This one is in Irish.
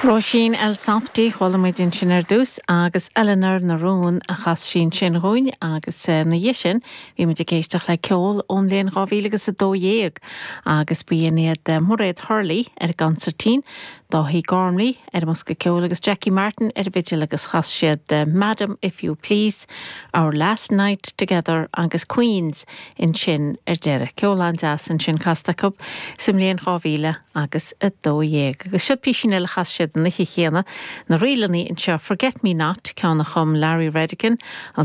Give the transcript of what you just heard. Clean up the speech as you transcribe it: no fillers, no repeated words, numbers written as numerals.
Róisín Elsafty, chuala muid ansin ar dtús, agus Eleanor na Rún a chas sí ansin dhúinn agus ina dhiaidh sin bhí muid ag éisteacht le ceol ón mbliain 2012 agus b'in iad Mairéad Hurley ar an gconsairtín, Dáithí Gormley ar an mbosca ceoil agus Jackie Martin ar an bhfidil agus chas siad Madam If You Please, Our Last Night Together agus Queens ansin ar deireadh. Ceol an-deas ansin casta acu sa mbliain 2000. agus 12. Agus siod písín eile a chas siad an oíche chéanna, na ríleanna anseo, Forget Me Not, ceann a chum Larry Redican, an.